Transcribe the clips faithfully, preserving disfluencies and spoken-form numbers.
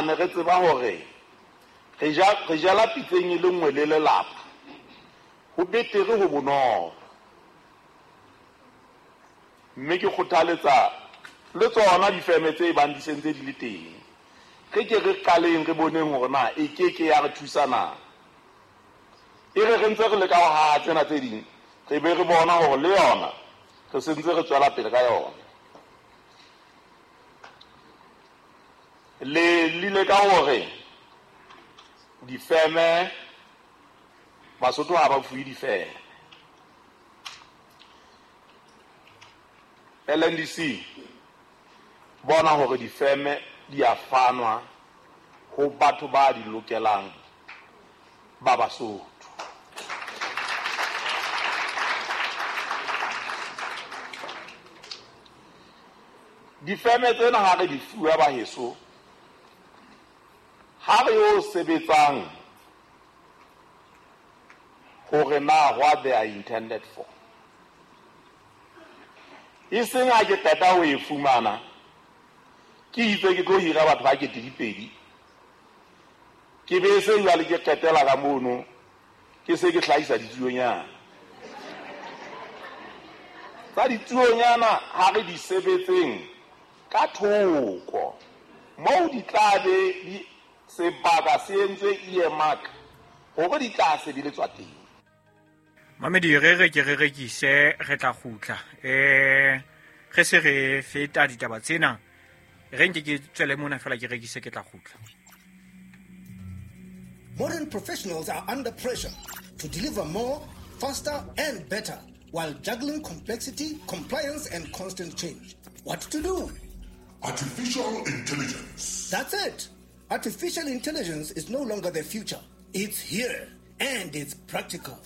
mane re tseba hore re ja re jala pitseng e le nngwe le lelapa, ho betere ho bonolo. Mme ke kgothaletsa le tsona difeme tse bang di sentse di le teng, re ke re qaleng re boneng hore na e ke ke ya re thusa na. E re re ntse re leka ho haha tsena tse ding, re be re bona hore le yona re sentse re tswela pele ka yona. Le lile ka hore difeme Basotho ha ba fuwe difeme. L N D C bona hore difeme di a fanwa ho batho ba di lokelang ba Basotho. Difeme tsena ha re di fuwa baheso, ha re yo sebetsang hore na what they are intended for. E seng ha ke qeta ho e fumana, ke itse ke tlo hira batho ba kete dipedi, ke be se jwale ke qetela ka mono, ke se ke hlahisa ditsuonyana. Tsa ditsuonyana ha re di sebetseng ka thoko, moo di tla be di sebaka se entswe earmark hore di tla sebeletswa teng. Mamedi, re re ke re rekise, re tla kgutla. Eh re se re feta ditaba tsena, re nke ke tswele mona fela ke rekise, ke tla kgutla. Modern professionals are under pressure to deliver more, faster and better while juggling complexity, compliance and constant change. What to do? Artificial intelligence. That's it. Artificial intelligence is no longer the future. It's here and it's practical.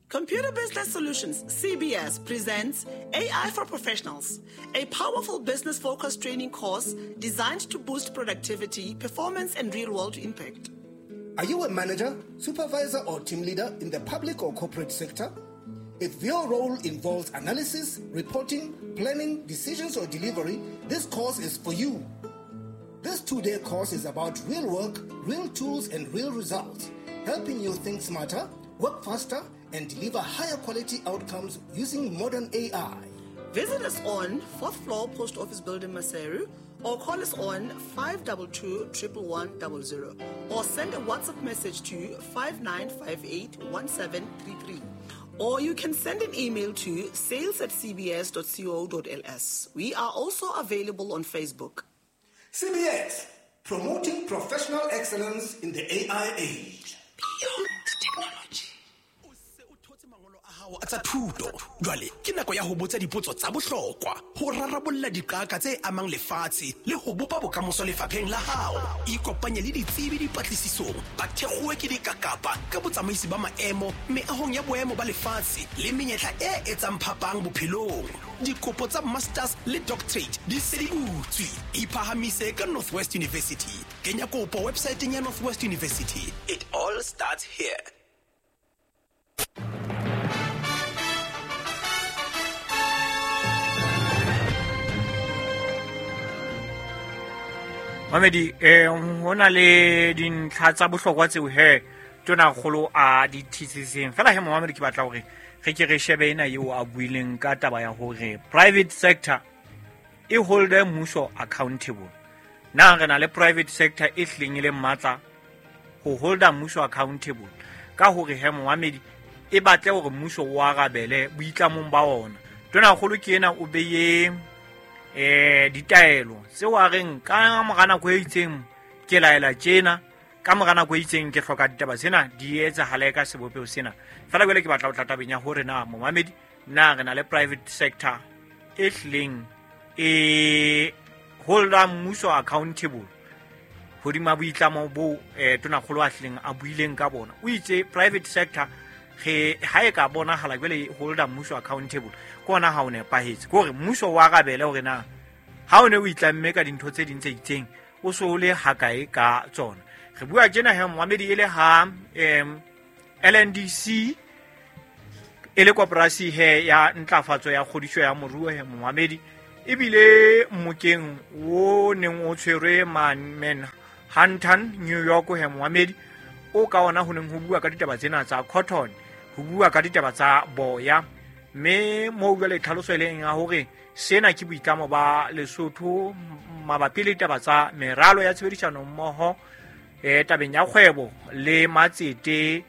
Computer Business Solutions, C B S, presents A I for Professionals, a powerful business-focused training course designed to boost productivity, performance, and real-world impact. Are you a manager, supervisor, or team leader in the public or corporate sector? If your role involves analysis, reporting, planning, decisions, or delivery, this course is for you. This two-day course is about real work, real tools, and real results, helping you think smarter, work faster, and deliver higher quality outcomes using modern A I. Visit us on fourth floor Post Office Building, Maseru, or call us on five two two, one one one zero zero, or send a WhatsApp message to five nine five eight, one seven three three. Or you can send an email to sales at c b s dot co dot l s. We are also available on Facebook. C B S, promoting professional excellence in the A I age. Beyond technology. A tsa thuto jwale ke nako ya ho botsa dipotso tsa bohlokwa, ho rarabolla diqaka tse amang lefatshe le ho bopa bokamoso lefapheng la hao. Ikopanye le ditsebi dipatlisisong, ba thekgowe ke dikakapa ka botsamaisi ba maemo meahong ya boemo ba lefatshe le menyetla e etsang phapang bophelong. Dikopo tsa masters le doctorate di se di butswe. Iphahamise ka Northwest University. Kenya kopo websiteng ya Northwest University. It all starts here. Mamedi, eh ho na le dintlha tsa bohlokwa tseo he tona kgolo a di thisiseng. Fela he Mamedi, ke batla hore re ke re shebe ena eo a buileng ka taba ya hore private sector e holde mmuso accountable. Na re na le private sector e hleng e le matla ho holda mmuso accountable ka hore he Mamedi e batle hore mmuso o arabele boitlamong ba ona. Tona kgolo ke ena o beye eh ditaelo tseo a reng ka mora nako e itseng ke laela tjena, ka mora nako e itseng ke hloka ditaba tsena di etsahale ka sebopeho sena. Fela jwale ke batla ho tla tabeng ya hore na momamedi, na re na le private sector e hleng e holda mmuso accountable hodima boitlamo bo eh tonakgolo a hleng a buileng ka bona. O itse private sector re ha e ka bonahala jwale holda mmuso accountable ke ona ha o nepahetse, ke hore mmuso wa arabele hore na ha o ne o itlamme ka dintho tse ding tse itseng o so o le hakae ka tsona. Re bua tjena he momamedi e le ha um L N D C e le koporasi he ya ntlafatso ya kgodiso ya moruo he momamedi, ebile mmokeng o neng o tshwerwe Manhattan Hunton, New York he moamedi o ka ona ho neng ho bua ka ditaba tsena tsa cotton, ho bua ka ditaba tsa boya. Mme moo jwale tlhaloso e leng ya hore sena ke boitlamo ba Lesotho mabapi le ditaba tsa meralo ya tshebedisano mmoho eh tabeng ya kgwebo le matsete,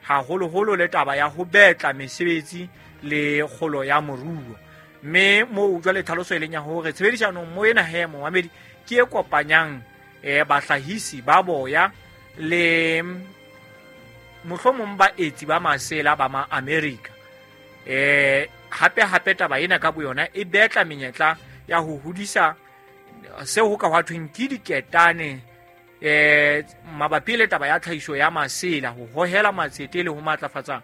haholoholo le taba ya ho betla mesebetsi le kgolo ya moruo. Mme moo jwale tlhaloso e leng ya hore tshebedisano mmoho ena he moamedi ke e kopanyang eh bahlahisi ba boya le mohlomong baetsi ba masela ba ma America. Eh hape hape taba ena ka boyona e betla menyetla ya ho hodisa seo ho ka hwa thweng ke diketane eh mabapi le taba ya tlhahiso ya masela, ho hohela matsete le ho matlafatsa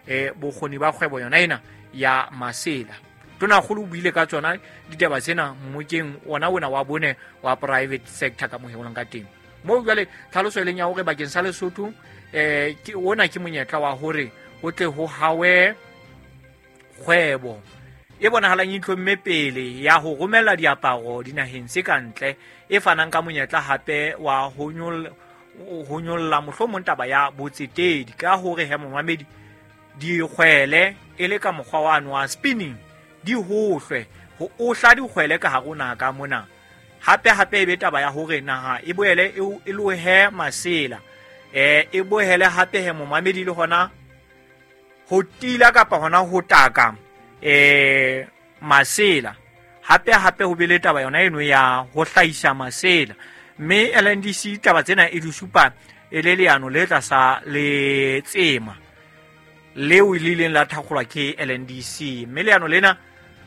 eh bokgoni ba kgwebo yona ena ya masela. Tonakgolo o buile ka tsona ditaba tsena mmokeng ona ona wa bone wa private sector ka moheolong ka teng. Moo jwale tlhaloso e leng ya hore bakeng sa Lesotho eh ke ona ke monyetla wa hore ho tle ho hawe kgwebo e bonahalang e itlhomme pele ya ho romela diaparo dinaheng tse ka ntle, e fanang ka monyetla hape wa ho nyolla ho nyolla mohlomong taba ya botsetedi ka hore he momamedi dikgwele e le ka mokgwa wa wa spinning di hohlwe ho ohla dikgwele ka hare ho naha ka mona. Hape hape e be taba ya hore naha e boele e lohe masela eh e boele hape he momamedi le hona ho tila kapa hona ho taka eh masela. Hape hape ho be le taba yona eno ya ho hlahisa masela. Mme L N D C taba tsena e di supa e le leano le tlasa le tsema leo le ileng la thakgolwa ke L N D C. Mme leano lena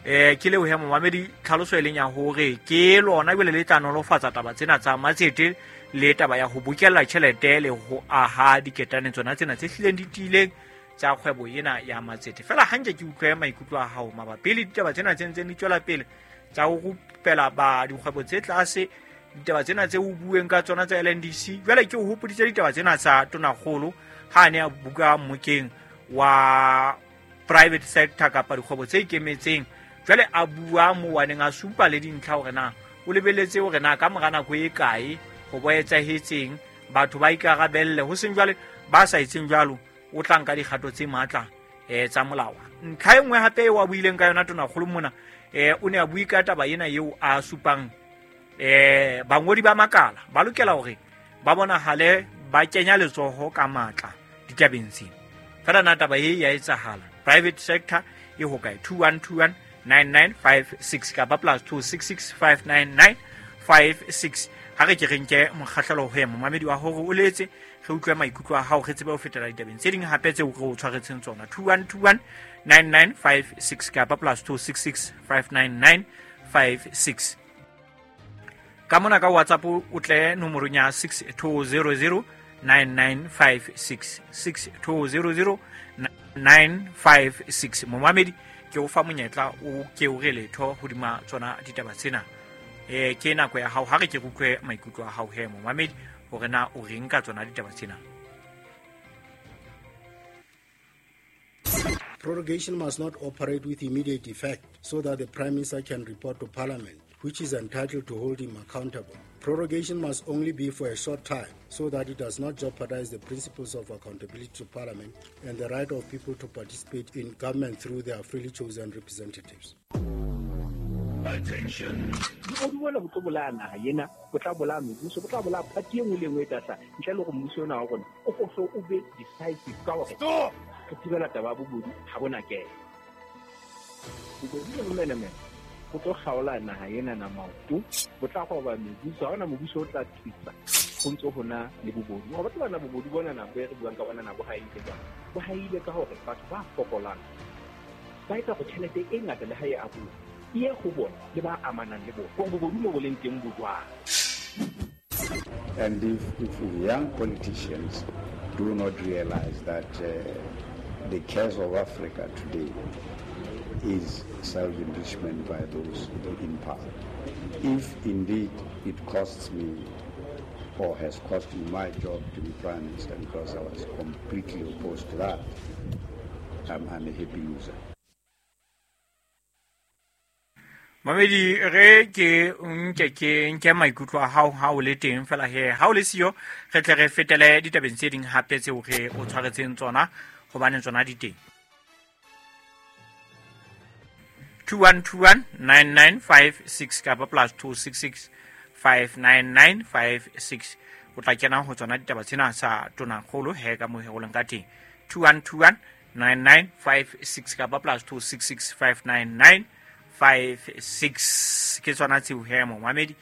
eh ke leo he momamedi tlhaloso e leng ya hore ke lona jwale le tla nolofatsa taba tsena tsa matsete le taba ya ho bokella tjhelete le ho aha diketane tsona tsena tse hlileng di tiileng tsa kgwebo ena ya matsete. Fela hanke ke utlwe maikutlo a hao mabapi le ditaba tsena tse ntseng di tswela pele tsa ho rupela ba dikgwebo tse tlase, ditaba tsena tse o bueng ka tsona tsa L N D C. Jwale ke o hopoditse ditaba tsena tsa Tonakgolo ha a ne a buka mmokeng wa private sector kapa dikgwebo tse ikemetseng. Jwale a bua moo a neng a supa le dintlha hore na o lebeletse hore na ka mora nako e kae ho bo etsahetseng batho ba ikarabelle, ho seng jwale ba sa etseng jwalo o tla nka dikgato tse matla eh tsa molao. Ntlha e nngwe hape eo a buileng ka yona Tonakgolo mona eh o ne a bui ka taba ena eo a supang eh bangodi ba makala ba lokela hore ba bonahale ba kenya letsoho ka matla ditabeng tsena. Fela na taba e ya etsahala private sector e ho kae? Two one two one nine nine five six kapa plus two six six five nine nine five six. Ha re ke re nke mokgahlelo ho ya momamedi wa hore o letse re utlwe maikutlo a hao, re tsebe ho fetela ditabeng tse ding hape tseo re o tshwaretseng tsona. Two one two one nine nine five six kapa plus two six six five nine nine five six. Ka mona ka WhatsApp o tle nomorong ya six two zero zero nine nine five six six two zero zero nine five six. Momamedi ke o fa monyetla o ke o re letho hodima tsona ditaba tsena. Eh ke nako ya hao, ha re ke utlwe maikutlo a hao he momamedi hore na o reng ka tsona ditaba tsena. Prorogation must not operate with immediate effect so that the Prime Minister can report to Parliament, which is entitled to hold him accountable. Prorogation must only be for a short time so that it does not jeopardize the principles of accountability to Parliament and the right of people to participate in government through their freely chosen representatives. Attention. Bogodu bona bo tlo bolaya naha ena, bo tla bolaya mebuso, bo tla bolaya party e nngwe le e nngwe e tla hlaha. Ntle le hore mmuso ona wa rona o hlo o be decisive ka hore re thibela taba ya bobodu ha bona kena. Bobodu le bomenemene bo tlo kgaola naha ena na maoto, bo tla roba mebuso, ha hona mobuso o tla tsitsa ho ntso hona le bobodu. Hore batho bana bobodu bona na bo e re buang ka bona na bo haile jwang? Bo haile ka hore batho ba fokolang ba etsa hore tjhelete e ngata le ha e abuwa e ye ho bona le ba amanang le bona. Hore bobodu mo bo leng teng bo jwang. And if, if young politicians do not realize that uh, the curse of Africa today is self-enrichment by those in power. If indeed it costs me or has cost me my job to be Prime Minister, because I was completely opposed to that, I'm, I'm a happy loser. Mamedi re ke nke ke nke maikutlo a hao ha o le teng fela he ha o le siyo re tle re fetele ditabeng tse ding hape tseo re o tshwaretseng tsona hobane tsona di teng. two one two one nine nine five six kapa plus two six six five nine nine five six o tla kena ho tsona ditaba tsena sa Tonakgolo he ka mo he o leng ka teng. two one two one nine nine five six kapa plus two six six five nine nine five six ke tsona tseo he momamedi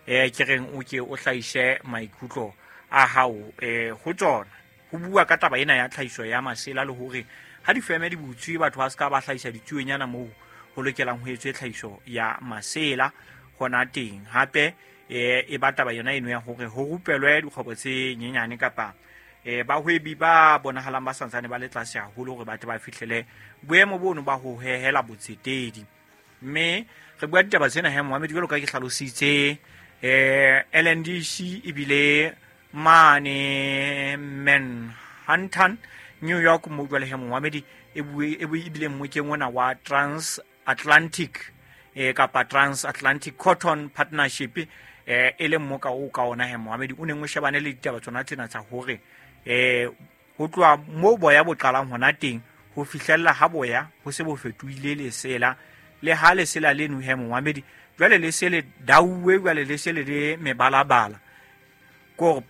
eh ke reng o ke o hlaise maikutlo a hao eh ho tsona ho bua ka taba ena ya tlhahiso ya masela le hore ha difeme di butswe batho ba ska ba hlahisa ditsuenyana moo ho lokelang ho etswe tlhahiso ya masela hona teng hape eh e ba taba yona eno ya hore ho rupelwe dikgwebo tse nyenyane kapa eh bahwebi ba bonahalang ba santsane ba le tlase haholo hore batho ba fihlele boemo bono ba ho hehela botsetedi. Mme re bua ditaba tsena he momamedi jwalo ka ke hlalositse eh L N D C ebile mane Manhattan New York mo jwale he momamedi e bue e bile mmokeng ona wa Transatlantic eh kapa Transatlantic Cotton Partnership eh e le mmoka o ka ona he momamedi o neng o shebane le ditaba tsona tsena tsa hore eh ho tloha mo boya bo qalang hona teng ho fihlella ha boya ho se bo fetohile lesela le ha lesela leno he momamedi jwale le se le dauwe jwale le se le le mebalabala ko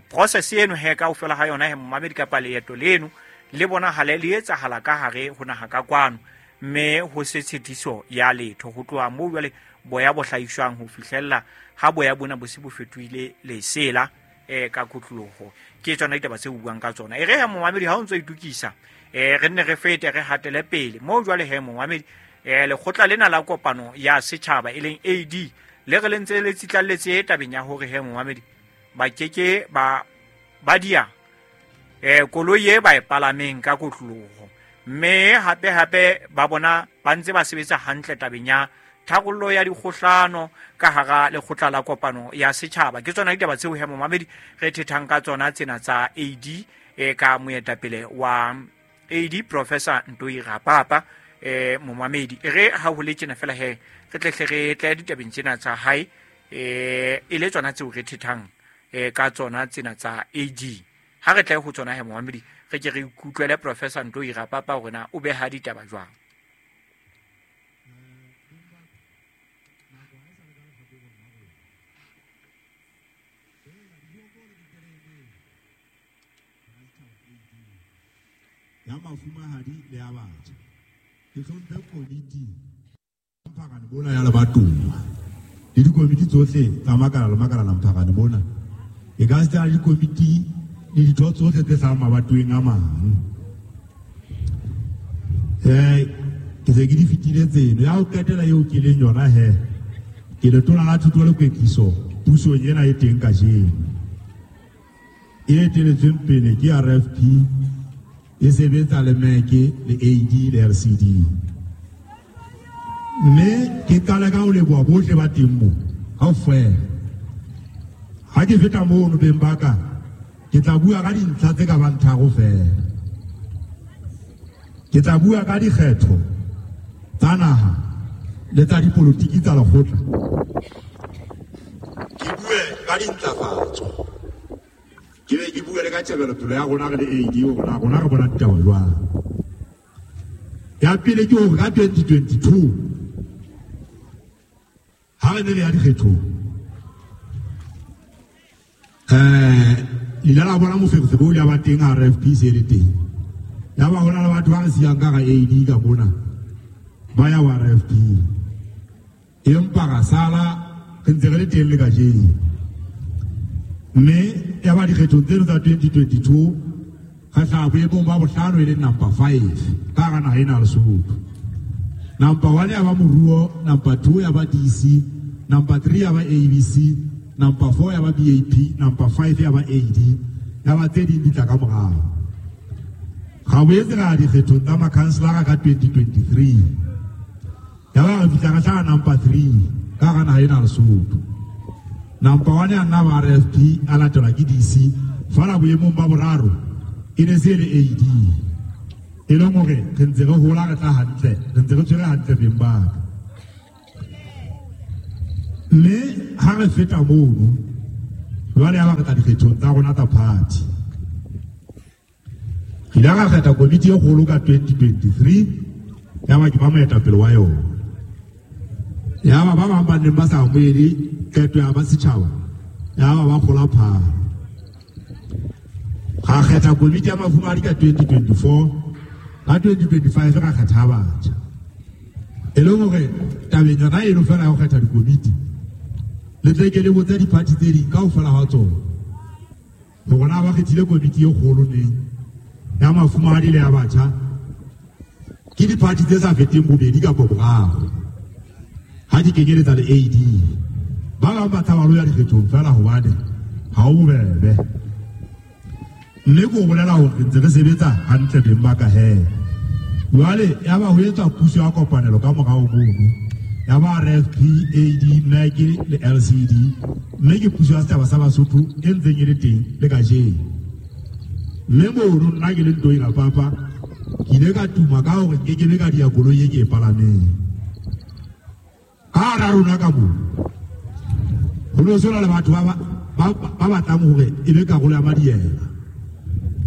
process eno he kaofela ha yona he momamedi kapa leeto leno le bonahala le etsahala ka hare ho naha ka kwano mme ho se tshitiso ya letho ho tloha moo jwale boya bo hlahiswang ho fihlella ha boya bona bo se bo fetohile lesela eh ka kotloloho. Ke tsona ditaba tse buang ka tsona e re he momamedi ha o ntso itukisa eh re nne re fete re hatele pele moo jwale he momamedi eh lekgotla lena la kopano ya setjhaba e leng A D le re le ntse le tsitlalletse tabeng ya hore he momamedi ba keke ba ba dia eh koloi e ba e palameng ka kotloloho mme hape hape ba bona ba ntse ba sebetsa hantle tabeng ya tharollo ya dikgohlano ka hara lekgotla la kopano ya setjhaba. Ke tsona ditaba tseo he momamedi re thethang ka tsona tsena tsa A D e ka moetapele wa A D Professor Ntoi Rapapa eh momamedi e re ha ho le tjena fela he re tle re tle ditabeng tsena tsa hae eh e le tsona tseo re thethang eh ka tsona tsena tsa A D. Ha re tle ho tsona he momamedi re ke re ikutlwele Professor Ntoi Rapapa hore na o beha ditaba jwang. Ya mafumahadi le ya batjha ke hlomphe komiti mphakane bona ya lebatowa le dikomiti tsohle tsa makala le makala la mphakane bona e ka se le dikomiti le ditho tsohle tse hlahang mabatoweng a mang eh ke se ke di fetile tseno ya ho qetela eo ke leng yona he ke letona la thuto le kwetliso pusong ena e teng kajeno e eteletsweng pele ke R F P e sebetsa le M E C le A D le L C D mme ke qala ka ho leboha bohle ba teng mo kaofela. Ha ke feta mono beng ba ka ke tla bua ka dintlha tse ka bang tharo fela. Ke tla bua ka dikgetho tsa naha le tsa dipolotiki tsa lekgotla, ke bue ka dintlafatso, ke be ke bue le ka tjhebelopele ya rona re le A D hore na rona re bona ditaba jwang. Ya pele ke hore ka twenty twenty-two ha re ne re ya dikgethong eh le ile la bona moferefere o ile a ba teng R F P se le teng ya ba hona le batho ba re siyang ka ga A D ka mona ba ya wa R F P empa ra sala re ntse re le teng le kajeno. Mme ya ba dikgethong tseno tsa twenty twenty-two re hlaha boemong ba bohlano e leng number five ka hara naha ena ya Lesotho. Number one ya ba Moruo, number two ya ba D C, number three ya ba A B C, number four ya ba B A P, number five ya ba A D, ya ba tse ding di tla ka morao. Ra boetse ra ya dikgethong tsa makhanselara ka twenty twenty-three ya ba re fihla re hlaha number three ka hara naha ena ya Lesotho. Number one ya nna ba R F P a latelwa ke D C, fela boemong ba boraro e ne se le A D e leng hore re ntse re hola re tla hantle, re ntse re tshwere hantle beng ba ka. Mme ha re feta mono jwale ya ba re tla dikgethong tsa rona tsa party. Re ile ra kgetha komiti e kgolo ka twenty twenty-three, ya ba ke ba moetapele wa yona. Ya ba ba bang ba neng ba sa amohele qeto ya ba setjhaba, ya ba ba kgola phalo. Ra kgetha komiti ya mafumahadi ka twenty twenty-four, ka twenty twenty-five ra kgetha batjha. E leng hore tabeng yona eno fela ya ho kgetha dikomiti, le tle ke le botse di-party tse ding kaofela ha tsona hore na ba kgethile komiti e kgolo neng ya mafumahadi le ya batjha. Ke di-party tse sa feteng bobedi kapa boraro ha di kenyeletsa le A D. Ba bang ba tshaba ho ya dikgethong fela hobane ha ho bobebe. Mme ke o bolela hore re ntse re sebetsa hantle beng ba ka he. Jwale ya ba ho etswa puso ya kopanelo ka morao mono, ya ba R F P, A D, M E C le L C D, mme ke puso ya setjhaba sa Basotho e ntseng e le teng le kajeno. Mme mono nna ke le Ntoi Rapapa, ke ile ka tuma ka hore nke ke be ka dia koloi e ke e palameng. Ka hara rona ka moo ho no sona le batho ba ba ba batlang hore e be karolo ya madiela,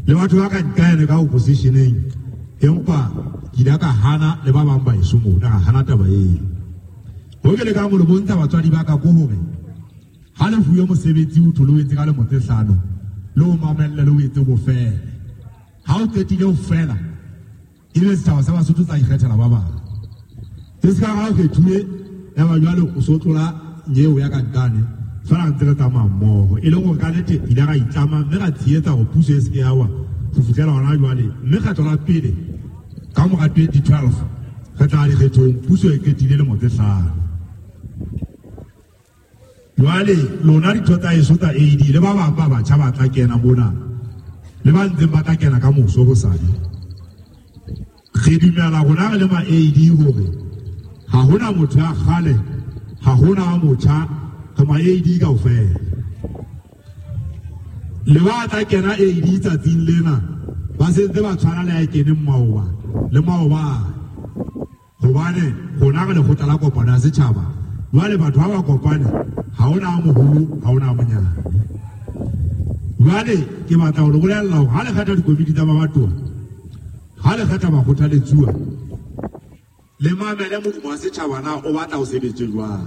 le batho ba ka nkaene ka oppositioneng, empa ke ile ka hana le ba bang ba eso mona, ka hana taba eo. Ho ke le ka mo le bontsha batswadi ba ka ko hore ha le fuwe mosebetsi o thole o etse ka lemo tse hlano, le o mamelle le o etse bofela. Ha o qetile ho fela, ebe setjhaba sa Basotho tsa ikgethela ba bang. Se se ka ha o kgethuwe ya ba jwale o so tlola nyeo ya ka nkane, fela re ntse re tsamaya mmoho. E leng hore ka nnete ile ra itlama mme ra tshehetsa hore puso e se ke ya wa ho fihlela hona jwale. Mme kgetho la pele ka mora twenty twelve re tla dikgethong, puso e qetile lemo tse hlano. Jwale lona ditho tsa eso tsa A D le ba bang ba batjha ba tla kena mona, le ba ntseng ba tla kena ka moso hosane, re dumela rona re le ma A D hore ha hona motho ya kgale, ha hona motjha, re ma A D kaofela. Le ba tla kena A D tsatsing lena ba sentse ba tshwana le ya keneng maoba le maobane, hobane rona re lekgotla la kopano ya setjhaba. Jwale batho ha ba kopane, ha hona a moholo, ha hona a monyane. Jwale ke batla ho le bolella hore ha le kgetha dikomiti tsa mabatowa, ha le kgetha bakgothaletsuwa, le mamele modumo wa setjhaba na o batla ho sebetse jwang.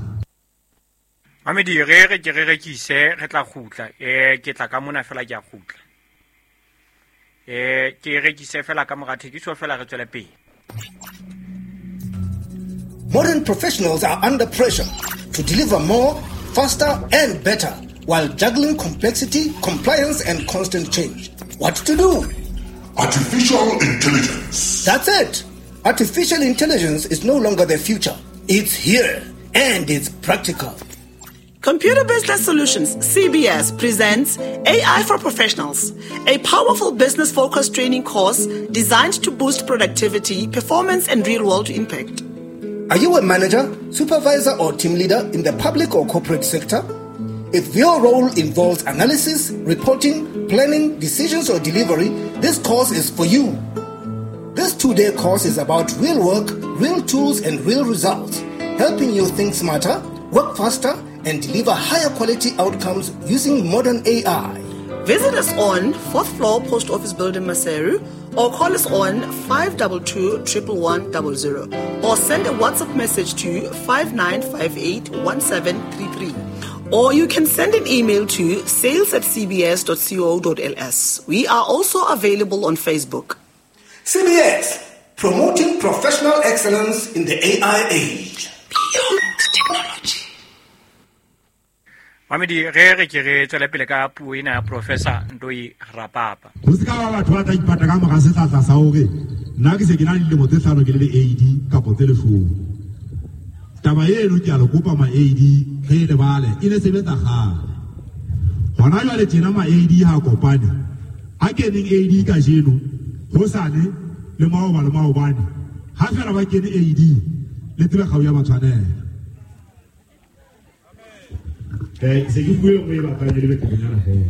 Mamedi, re re ke re rekise, re tla kgutla. Eh ke tla ka mona fela ke a kgutla. Eh ke rekise fela ka mora thekiso fela re tswele pele. Modern professionals are under pressure to deliver more, faster and better while juggling complexity, compliance and constant change. What to do? Artificial intelligence. That's it. Artificial intelligence is no longer the future. It's here and it's practical. Computer Business Solutions, C B S, presents A I for Professionals, a powerful business-focused training course designed to boost productivity, performance, and real-world impact. Are you a manager, supervisor, or team leader in the public or corporate sector? If your role involves analysis, reporting, planning, decisions, or delivery, this course is for you. This two-day course is about real work, real tools, and real results, helping you think smarter, work faster, and deliver higher quality outcomes using modern A I. Visit us on fourth floor Post Office Building, Maseru, or call us on five two two, one one one zero zero, or send a WhatsApp message to five nine five eight, one seven three three. Or you can send an email to sales at c b s dot co dot l s. We are also available on Facebook. C B S, promoting professional excellence in the A I age. Beyond technology. Mamedi, re re ke re tswele pele ka puo ena ya Professor Ntoi Rapapa. Ho se ka ba batho ba tla ipata ka mora sehlahla sa hore nna ke se ke na le dilemo tse hlano ke le le A D kapa tse leshome. Taba eno ke a le kopa ma A D re e lebale, e ne sebetsa kgale. Hona jwale tjena ma A D ha kopane. Ha keneng A D kajeno, hosane le maoba le maobane, ha fela ba kene A D, le tsebe kgau ya ba tshwanela. Eh, se ke bue nngwe e batlang e le beterenyana fela.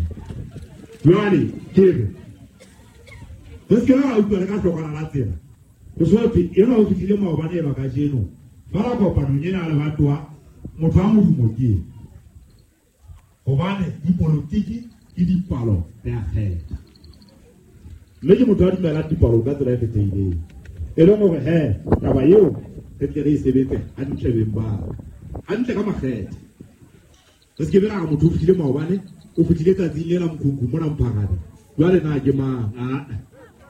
Jwale ke re, re se ke ra utlwa le ka hlokwana la tsela. Ho so thwe enwa o fihlile maobane eba kajeno, fela kopanong ena ya lebatowa, Motho wa modumo ke ena. Hobane dipolotiki ke dipalo re a kgetha. Mme ke motho a dumelang dipalo ka tsela e kgethehileng. E leng hore he taba eo re tle re e sebetse hantle beng ba hantle ka makgethe. Re se ke be ra re motho o fihlile maobane, o fihlile tsatsing le la mokhukhu mona Mpharane. Jwale na ke mang? Ah,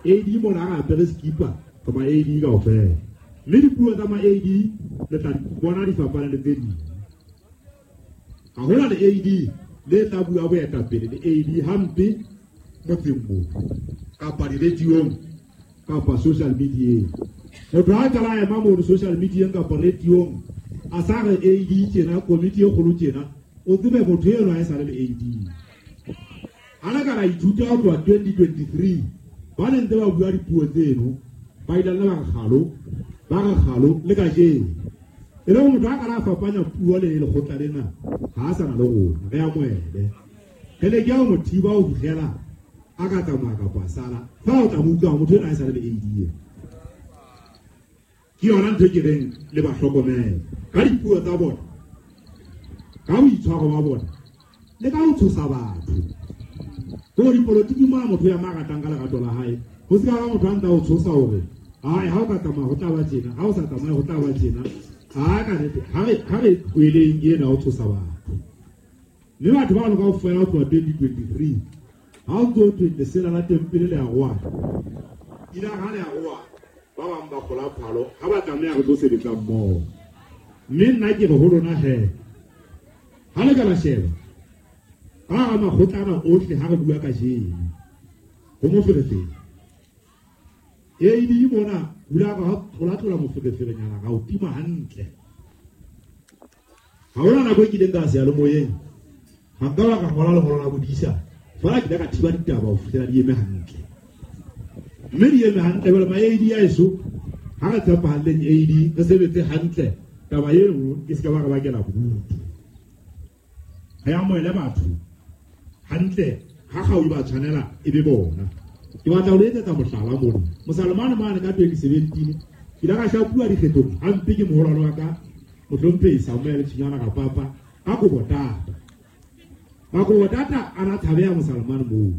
A D mona ha re apere skipa re ma A D kaofela. Mme dipuo tsa ma A D le tla bona di fapana le tse ding. Ha hona le A D le tla bua boetapele le A D hampe motseng moo kapa di-radiong kapa social media. Motho ha a qala a ema mono social media kapa radiong a sa re A D tjena, komiti e kgolo tjena, o tsebe motho enwa ha e sale le A D. Ha le ka la ithuta ho tloha twenty twenty-three ba ne ntse ba bua dipuo tseno, ba ile ba re kgalo, ba re kgalo le kajeno. E le hore motho ha ka la fapanya puo le lekgotla lena, ha a sa na le rona, re amohele. Re leke ho mo thiba ho fihlela a ka tsamaya kapa a sala. Fa o tla mo utlwa motho enwa ha e sale le A D ena. Ke yona ntho e ke reng le ba hlokomele ka dipuo tsa bona, ka boitshwaro ba bona, le ka ho tshosa batho. Ko dipolotiki mona motho ya maratang ka lerato la hae, ho se ka ba motho a ntsa o tshosa hore ai ha o ka tsamaya ho tla ba tjena, ha o sa tsamaye ho tla ba tjena. Ha ka nnete, ha re ha re tlohelleng ena ho tshosa batho. Mme batho bano kaofela ho tloha twenty twenty-three ha o ntso thwe lesela la tempele le a roa. Ile ha le a roa, ba bang ba kgola phalo, ha ba tlameha re tlo sebetsa mmoho. Mme nna ke re ho lona he, ha le ka la sheba ka hara makgotlana ohle ha re bua kajeno, ho moferefere. A D mona hula ka tlola-tlola mofereferenyana ka o tima hantle. Ha hona nako e kileng ka seyalemoyeng, ha nka ba ka ngola lengolo la bodisa, feela ke ile ka thiba ditaba ho fihlela di eme hantle. Mme di eme hantle jwale ma A D a eso, ha re tshepahalleng A D, re sebetse hantle, taba eno e se ka ba re bakela bodutu. Re amohele batho hantle, ha kgau e ba tshwanela e be bona. Ke batla ho le etsetsa mohlala mona. Mosalomane mane ka twenty seventeen, ke ile ka shapuwa dikgethong hampe ke moholwane wa ka, mohlomphehi Samuel Tshinyana Rapapa, ka Kobotata. Ka Kobotata a na tshabeha Mosalomane moo.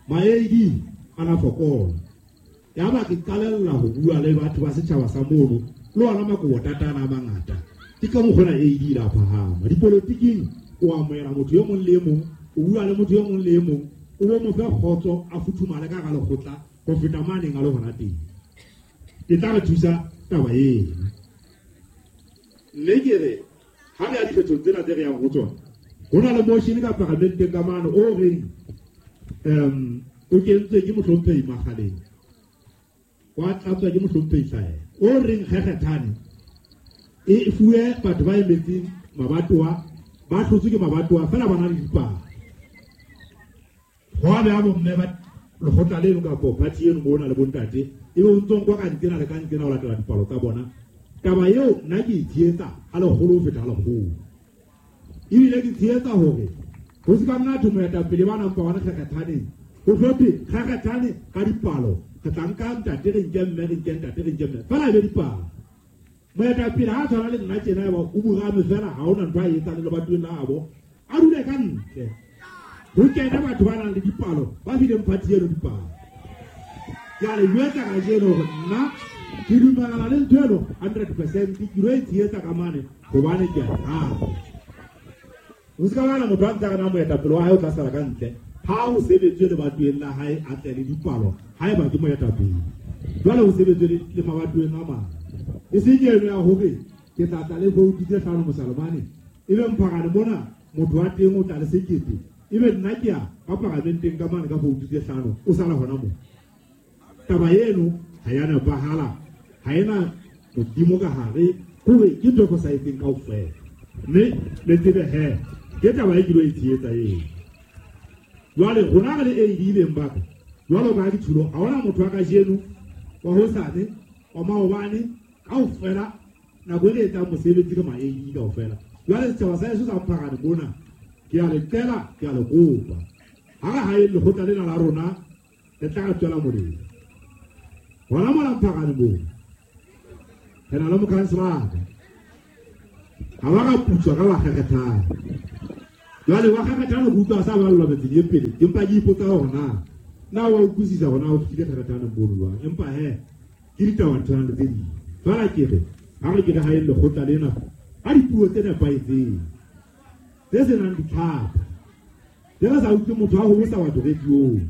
Ma A D a na fokola. Yaba ke qalella ho bua le batho ba setjhaba sa mono, le ona Makobotata ana a mangata. Ke ka mokgwa ona A D la phahama. Dipolotiking o amohela motho e mong le e mong, o bua le motho e mong le e mong, o bo mo fe kgotso a futhumale ka hara lekgotla ho feta maneng a le hona teng. Ke tla re thusa taba eno. Mme ke re ha re ya dikgethong tsena tse re yang ho tsona, ho na le motion ka paramenteng ka mane o reng um o kentswe ke mohlomphehi Makgaleng, wa tlatswa ke mohlomphehi Hlaela, o reng kgekgethane e fuwe batho ba emetseng mabatowa, ba hlotswe ke mabatowa feela ba na le dipalo. Ho a beha bomme ba lekgotla leno kapo party eno mona le bontate, ebe o ntso nkwa ka ntsena le ka ntsena ho latela dipalo tsa bona. Taba eo nna ke e tshehetsa ha lekgolo ho feta ha lekgolo. Ebile ke tshehetsa hore ho se ka nna thwe moetapele ba nang pa bona kgekgethaneng, ho hlophe kgekgethane ka dipalo, re tla nka ntate re nke mme, re nke ntate re nke mme, feela e be dipalo. Moetapele ha a tshwana le nna tjena eba o burame feela, ha hona ntho a e etsang le lebatoweng la habo, a dule ka ntle. Ho kene batho ba nang le dipalo, ba fileng party eno dipalo. Ke a le jwetsa kajeno hore nna ke dumellana le ntho eno hundred percent, ke lo e tshehetsa ka mane hobane ke a e rata. Ho se ka ba na motho a ntse a re na moetapele wa hae o tla sala ka ntle, ha ho sebetswe lebatoweng la hae a tle le dipalo, haeba ke moetapele. Jwale ho sebetswe le mabatoweng a mang. E seng eno ya hore ke tla tla le voutu tse hlano Mosalomane, ebe Mpharane mona motho wa teng o tla le sekete, ebe nna ke ya ka paramenteng ka mane ka voutu tse hlano, o sala hona moo. Taba eno ha ya nepahala, ha ena modimo ka hare, hore ke ntho e fosahetseng kaofela. Mme le tsebe he, ke taba e ke lo e tshehetsa eo. Jwale rona re le A D beng ba ka, jwalo ka ha ke tjholo, ha hona motho wa kajeno, wa hosane, wa maobane, kaofela nako e re etsang mosebetsi ke ma A D kaofela. Jwale setjhaba sa heso sa Mpharane mona, ke a le qela, ke a le kopa. Ha re haeng lekgotla lena la rona, le tla re tswela molemo. Hona mona Mpharane moo, re na le mokhanselara. Ha ba ka putswa ka wa kgerethane. Jwale wa kgerethane go utlwa sa ballwa metseng e pele, empa ke ipotsa hore na na wa utlwisisa hore na o fihlile kgerethane mono jwang. Empa he ke ditaba tshwana le tse ding. Jwale ke re ha re ke re hae lekgotla lena ka dipuo tse nepahetseng, tse senang ditlhapa, tse re sa utlwe motho a hobosa batho radiong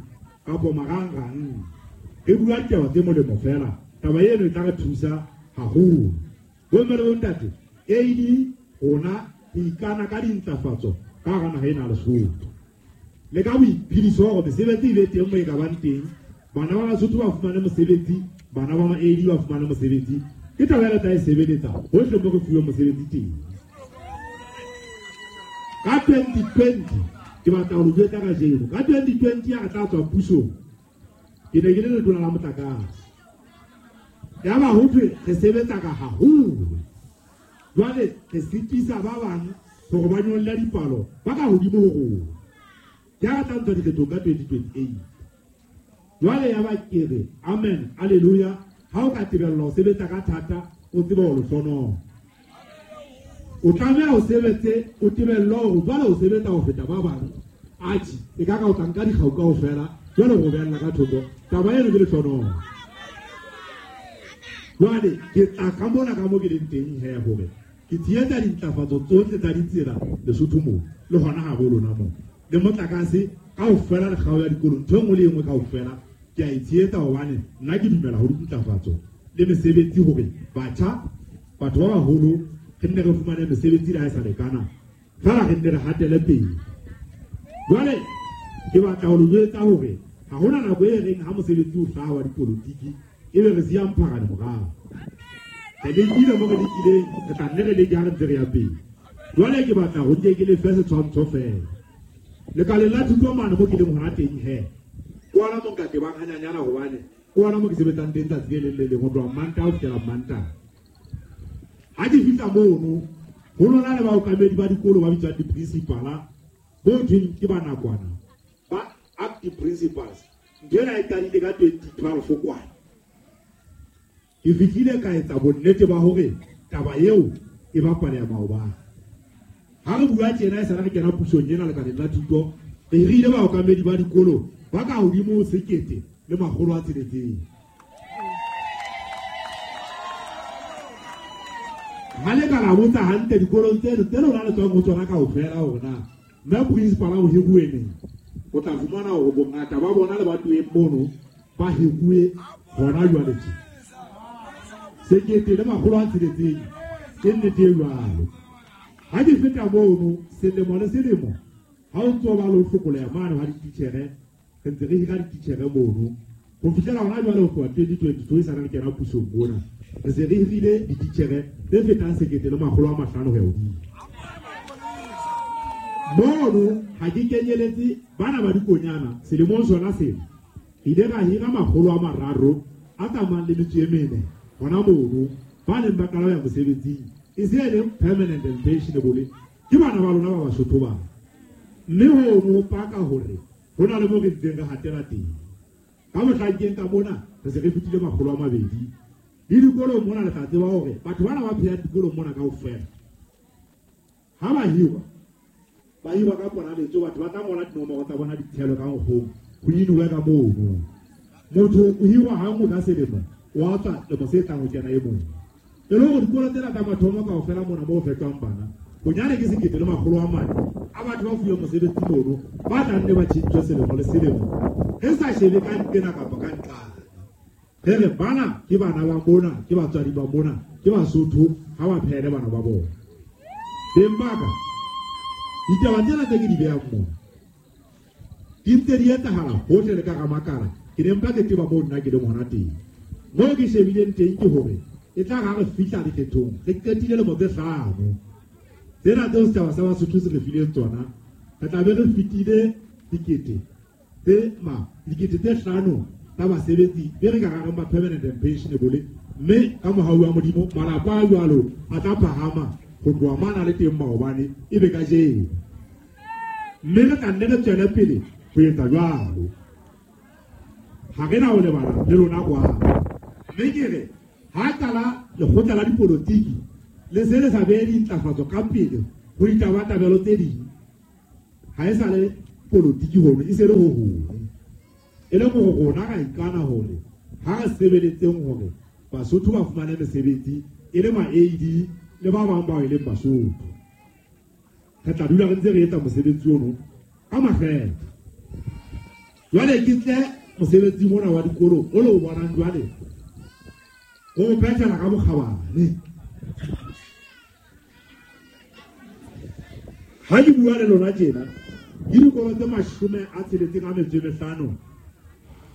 kapo marangrang. Re bua ditaba tse molemo fela, taba eno e tla re thusa haholo. Bomme le bontate, A D rona re ikana ka dintlafatso ka hara naha ena ya Lesotho. Le ka boiphediso hore mesebetsi e be teng moo e ka bang teng, bana ba Basotho ba fumane mosebetsi, bana ba ma-A D ba fumane mosebetsi. Ke taba e re tla e sebeletsa hohle moo re fuweng mosebetsi teng. Ka twenty twenty, ke batla ho le jwetsa kajeno, ka twenty twenty ha re tla tswa pusong, ke ne ke le letona la motlakase. Yaba ho thwe re sebetsa ka haholo. Jwale re sitisa ba bang hore ba nyolle dipalo ba ka hodimo ho rona. Ke ha re tla ntsha dikgethong ka twenty twenty-eight. Jwale yaba ke re amen, hallelujah. Ha o ka tebellwa ho sebetsa ka thata, o tsebe ho lehlonono. O tlameha o sebetse, o tebellwe hore jwale o sebetsa ho feta ba bang. Atjhe, e ka ka o tla nka dikgau kaofela, jwale o behella ka thoko. Taba eno ke lehlonono. Jwale ke tla ka mona ka mo ke leng teng he hore ke tshehetsa dintlafatso tsohle tsa ditsela Lesotho moo, le hona habo lona moo. Le motlakase kaofela le kgao ya dikolo, ntho e nngwe le e nngwe kaofela ke a e tshehetsa hobane nna ke dumela ho dintlafatso le mesebetsi hore batjha, batho ba baholo re nne re fumane mesebetsi le ha e sa lekana, fela re nne re hatele pele. Jwale ke batla ho le jwetsa hore ha hona nako e reng ha mosebetsi o hlaha wa dipolotiki ebe re siya mpharane morao. Re lekile mo re lekileng, re tla nne re leke ha re ntse re ya pele. Jwale ke batla ho nke ke le fe setshwantsho fela. Lekaleng la thuto mane mo ke leng hona teng he, ke ona mo nka tebang hanyanyana hobane ke ona mo ke sebetsang teng tsatsi le leng le leng ho tloha Mantaha ho fihlela Mantaha. Ha ke fihla mono, ho lona le baokamedi ba dikolo ba bitswang di-principala, bo thweng ke ba nakwana, ba acting principals. Ntho ena e qadile ka twenty twelve kwana. Ke fihlile ka etsa bonnete ba hore taba eo e bapaleha maobane. Ha re bua tjena e sala re kena pusong ena lekaleng la thuto, re hirile baokamedi ba dikolo ba ka hodimo ho sekete le makgolo a tsheletseng. Ha le ka la botsa hantle dikolong tseno tse lona le tswang ho tsona kaofela hore na mme principal o hiruwe neng, o tla fumana hore bongata ba bona le batuweng mono ba hiruwe hona jwale tje. Sekete le makgolo a tsheletseng ke nnete e jwalo. Ha ke feta mono selemo le selemo, ha o ntso ba le ho hlokoleha mane ha dititjhere, re ntse re hira dititjhere mono. Ho fihlela hona jwale ho tloha twenty twenty-two e sa re kena pusong mona, re se re hirile dititjhere tse fetang sekete le makgolo a mahlano ho ya hodimo. Mono ha ke kenyeletse bana ba dikonyana selemong sona sena, re ile ra hira makgolo a mararo a tsamayang le metso e mene hona mono, ba neng ba qala ho ya mosebetsing, e se e leng permanent and pensionable, ke bana ba lona ba Basotho bana. Mme hono ho paka hore ho na le mo re ntseng re hatela teng. Ka mohlankeng ka mona re se re fetile makgolo a mabedi. Le dikolong mona le tla tseba hore batho bana ba phelang dikolong mona kaofela ha ba hirwa, ba hirwa ka ponaletso, batho ba tla ngola dinomoro tsa bona ditshelo ka nkgong, ho inuwe ka mono. Motho o hirwa hanngwe ka selemo, wa tswa lemo se tlang ho kena e mong. E le hore dikolo tsena tsa mathomo kaofela mona moo ho fetwang bana, bonyane ke sekete le makgolo a mane a batho ba fuweng mosebetsi mono, ba tla nne ba tjhentjhwe selemo le selemo. Re sa shebe ka nqena kapa ka nqane. Re re bana ke bana ba mona, ke batswadi ba mona, ke Basotho, ha ba phehele bana ba bona. Beng ba ka, ditaba tsena tse ke di behang mona di ntse di etsahala hohle le ka Ramakala. Ke ne mpa ke tseba moo nna ke leng hona teng. Moo ke shebileng teng ke hore e tla ha re fihla dikgethong, re qetile lemo tse hlano. Tsena tseo setjhaba sa Basotho se re fileng tsona, re tla be re fetile dikete tse ma dikete tse hlano tsa basebetsi be re ka rareng ba permanent and pensionable, mme ka mohau wa Modimo malapa a jwalo a tla phahama ho tloha mana le teng maobane e be kajeno. Mme re tla nne re tswele pele ho etsa jwalo. Ha re na ho lebala le lona kwano. Mme ke re ha qala lekgotla la dipolotiki Le se le sa behe dintlafatso ka pele ho ditabatabelo tse ding, ha e sa le polotiki hono, e se le ho hong. E le hore rona ra ikana hore ha re sebeletseng hore Basotho ba fumane mesebetsi e le ma A D le ba bang bao e leng Basotho. Re tla dula re ntse re etsa mosebetsi ono ka makgethe. Jwale ke tle mosebetsi mona wa dikolo o le o bonang jwale o phethela ka bokgabane. Ha ke bua le lona tjena, ke dikolo tse mashome a tsheletseng a metso e mehlano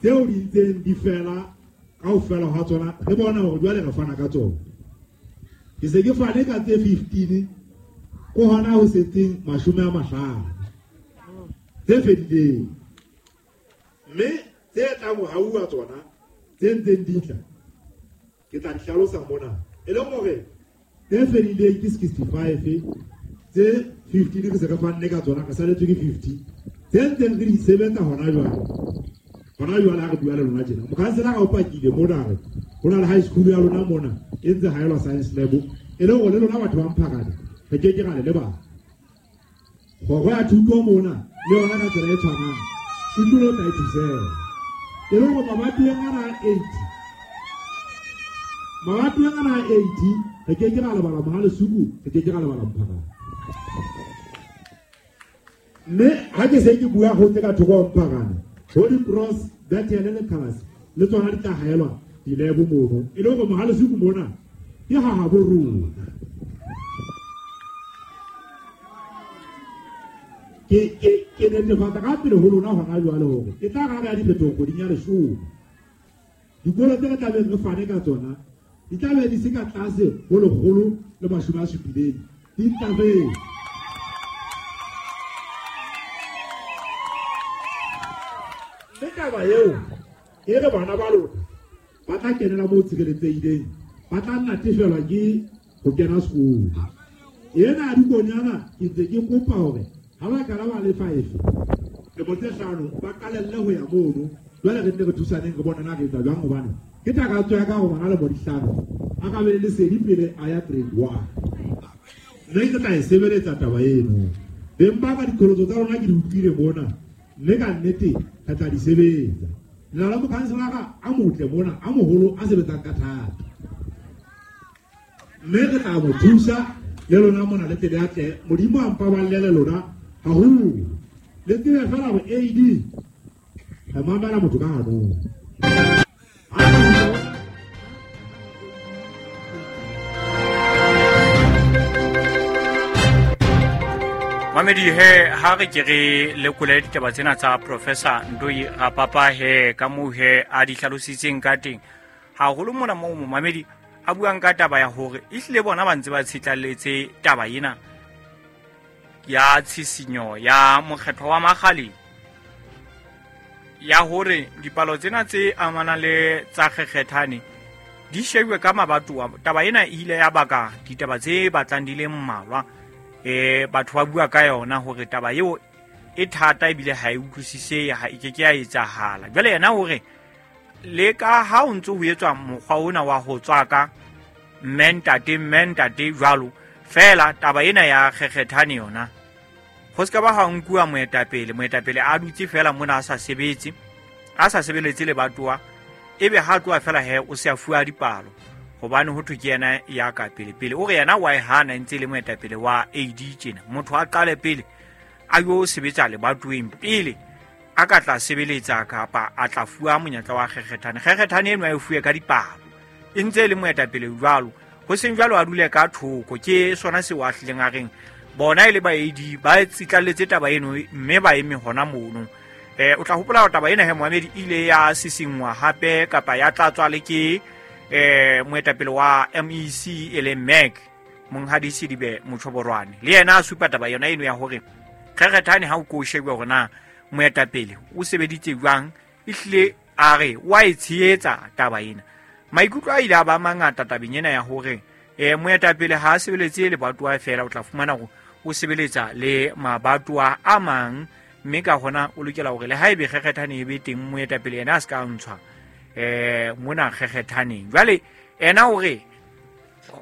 tseo di ntseng di fela kaofela ha tsona, re bona hore jwale re fana ka tsona. Ke se ke fane ka tse fifteen, ko hona ho setseng mashome a mahlano tse fedileng. Mme tse tlang ho hauwa tsona tse ntseng di tla, ke tla di hlalosa mona. E leng hore tse fedileng ke sixty-five, tse fifteen re se re fanne ka tsona, re saletswe ke fifty. Tse ntseng re di sebetsa hona jwale, hona jwale ha re bua le lona tjena, mokhanselara o pakile mona re ho na le high school ya lona mona e ntse haelwa science lab, e le hore le lona batho ba Mphakane re ke ke ra le lebala. Kgoro ya thuto mona le yona ka tsela e tshwanang e tlilo tla e thusela. E le hore mabatoweng ana a eighty, mabatoweng ana a eighty re ke ke ra lebala Mohalesuku, re ke ke ra lebala Mphakane. Mme ha ke se ke bua ho tse ka thoko ho Mphakane, Holy Cross, Bethel le Kalasi le tsona di tla haelwa dilebo mono. E le hore Mohalesuku mona ke ha habo rona. Ke ke ke netefatsa ka pele ho lona hona jwale hore e tla ra ya diphetoho kgweding ya leshome. Dikolo tse re tlabeng re fane ka tsona di tla be di se ka tlase ho lekgolo le mashome a supileng, di ntlafetse. Mme taba eo e re bana ba lona ba tla kenela moo tshireletsehileng, ba tla natefelwa ke ho kena sekolo. Ena ya dikonyana ke ntse ke kopa hore ha ba kala ba le five lemo tse hlano ba qalelle ho ya mono. Jwale re nne re thusaneng re bone na re etsa jwang, hobane ke takatso ya ka hore ngwana lemo di hlano a ka be le lesedi pele a ya grade one. Mme ke tla e sebeletsa taba eno. Beng ba ka diqholotso tsa rona ke di utlwile mona, mme ka nnete re tla di sebetsa. Lelapa la mokhanselara a motle mona, a moholo, a sebetsang ka thata, mme re tla mo thusa le lona mona le tle le atle. Modimo a mpaballe le lona haholo. Le tsebe fela hore A D re mamela motho ka hanong. Mamedi he ha re ke re lekole ditaba tsena tsa Professor Ndoi Rapapa he ka moo he a di hlalositseng ka teng. Haholo mona moo momamedi a buang ka taba ya hore ehlile bona ba ntse ba tshitlalletse taba ena ya tshisinyo ya mokgetho wa Makgaleng, ya hore dipalo tsena tse amanang le tsa kgekgethane di shebuwe ka mabatowa. Taba ena e ile ya baka ditaba tse batlang di le mmalwa. Eh batho ba bua ka yona hore taba eo e thata ebile ha e utlwisise, ha e ke ke ya etsahala. Jwale yena hore le ka ha o ntse ho etswa mokgwa ona wa ho tswaka mme ntate mme ntate jwalo fela, taba ena ya kgekgethane yona ho se ka ba ha nkuwa moetapele, moetapele a dutse fela mona a sa sebetse, a sa sebeletse lebatowa, ebe ha tloha fela he o se a fuwa dipalo hobane ho thwe ke yena ya ka pele pele. O re yena wa e hana ntse le moetapele wa A D tjena, motho a qale pele a yo sebetsa lebatoweng pele a ka tla sebeletsa kapa a tla fuwa monyetla wa kgekgethane. Kgekgethane eno a e fuwe ka dipalo e ntse le moetapele jwalo, ho seng jwalo a dule ka thoko. Ke sona seo a hlileng a reng bona e le ba A D ba tsitlalletse taba eno mme ba eme hona mono. Eh o tla hopola hore taba ena he Mohamedi ile ya sisingwa hape kapa ya tlatswa le ke eh moetapele wa M E C e leng M E C Monghadi Sidibe Motjhoborwane, le yena a supa taba yona eno ya hore kgekgethane ha o ko shebe hore na moetapele o sebeditse jwang, ehlile a re wa e tshehetsa taba ena. Maikutlo a ile a ba mangata tabeng ena ya hore eh moetapele ha a sebeletse lebatowa fela, o tla fumana hore o sebeletsa le mabatowa a mang, mme ka hona o lokela hore le haebe kgekgethane e be teng moetapele yena a se ka ntshwa eh mona kgekgethaneng. Jwale ena hore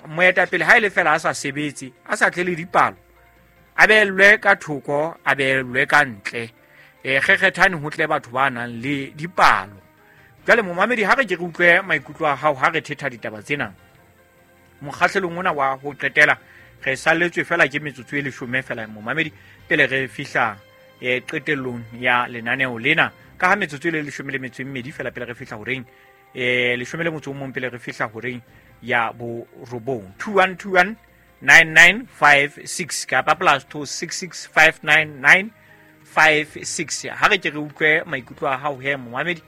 Moetapele ha ile fela a sa sebetse, a sa tle le dipalo, a beellwe ka thoko, a beellwe ka ntle. Eh kgekgethane ho tle batho ba nang le dipalo. Jwale momamedi ha re ke re utlwe maikutlo a hao ha re thetha ditaba tsena. Mokgahlelong ona wa ho qetela re salletswe fela ke metsotso e leshome fela momamedi pele re fihla eh qetellong ya lenaneo lena. Ka ha metsotso e le leshome le metso e mmedi fela pele re fihla horeng eh leshome le motso o mong pele re fihla horeng ya borobong. Two one two one nine nine five six kapa plus two six six five nine nine five six. Ha re ke re utlwe maikutlo a hao he momamedi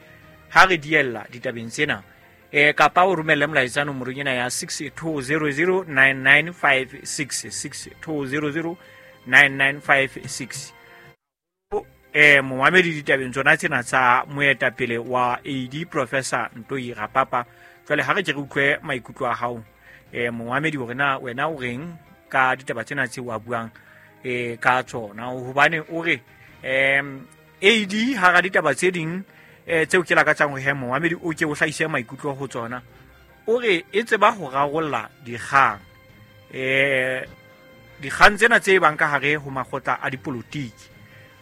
ha re diella ditabeng tsena. Eh kapa o romelle molaetsa nomorong ena ya six two zero zero nine nine five six, six two zero zero nine nine five six. Eh momamedi ditabeng tsona tsena tsa moetapele wa A D Professor Ntoi Rapapa. Jwale ha re ke re utlwe maikutlo a hao eh momamedi hore na wena o reng ka ditaba tsena tse wa buang eh ka tsona, hobane o re em A D ha ra ditaba tse ding eh tseo ke lakatsang ho he momamedi o ke o hlahise maikutlo ho tsona. O re e tseba ho rarolla dikgang eh dikgang tsena tse bang ka hare ho makgotla a dipolotiki.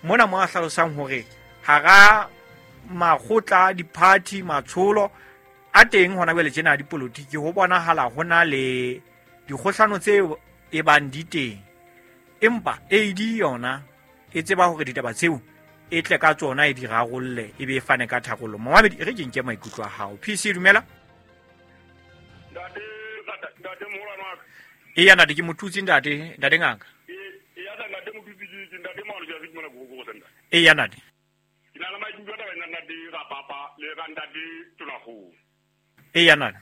Mona mo a hlalosang hore hara makgotla di-party matsholo a teng hona jwale tjena dipolotiki ho bonahala ho na le dikgohlano tse e bang di teng, empa A D yona e tseba hore ditaba tseo e tle ka tsona e di rarolle e be e fane ka tharollo. Momamedi e re ke nke maikutlo a hao. P C dumela. Ntate ntate moholo wa ka. Eya ntate ke motutsi ntate, ntate ngaka. Eya ntate motutsi ke ntate moholo ja ke mona go go senda. Eya ntate. Ke na le maikutlo a taba ntate Rapapa le ka ntate Tonakgolo. Eya ntate.